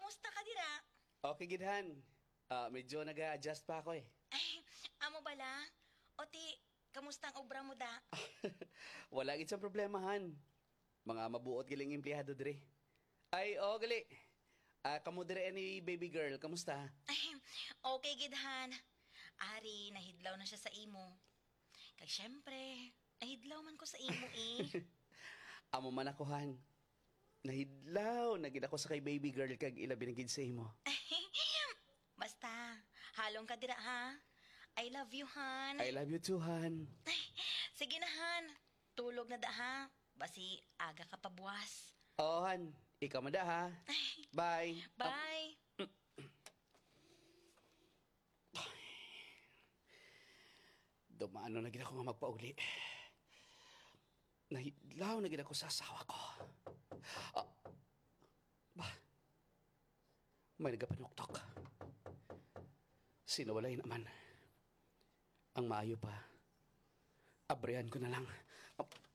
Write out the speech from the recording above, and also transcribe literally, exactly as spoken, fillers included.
Musta ka dira? Okay gid, han. Ah, medyo naga-adjust pa ako, eh. Ay, amo bala? O ti, kamusta ang obra mo, da? Wala gid sang problema, han. Mga mabuot galing empleyado diri. Ay, oo, gali. Ah, kamo diri ni baby girl, kamusta? Ay, okay gid, han. Ari, nahidlaw na siya sa imo. Kag syempre, nahidlaw man ko sa imo, eh. Amo man ako, han. Nahidlaw na gid ako sa kay baby girl kag ilabi na gid sa imo. Basta, halong ka dira, ha? I love you, han. I love you too, han. Sige na, han. Tulog na da, ha? Basi aga ka pa buwas. Oo, han. Ikaw man da, ha? Bye. Bye. Dumano na gid ako nga magpauli. Nahidlaw na gid ako sa asawa ko. Ah, ba? May nagapanuktok. Sino walay naman? Ang maayo pa, abrihan ko na lang. Ah,